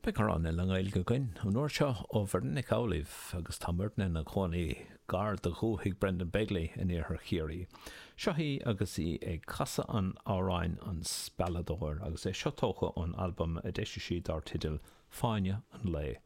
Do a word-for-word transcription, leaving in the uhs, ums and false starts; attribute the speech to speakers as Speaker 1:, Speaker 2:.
Speaker 1: Beidh amhrán eile i nGaeilge againn an uair seo ó Mhuireann Nic Amhlaoibh agus tá Muireann ina cónaí gar do dhúthaigh Brendan Begley in iarthar Chiarraí. Seo í agus í ag casadh an amhráin an Spealadóir agus é seo tógtha ón albam a d'eisigh sí dar teideal Fáinne an Lae.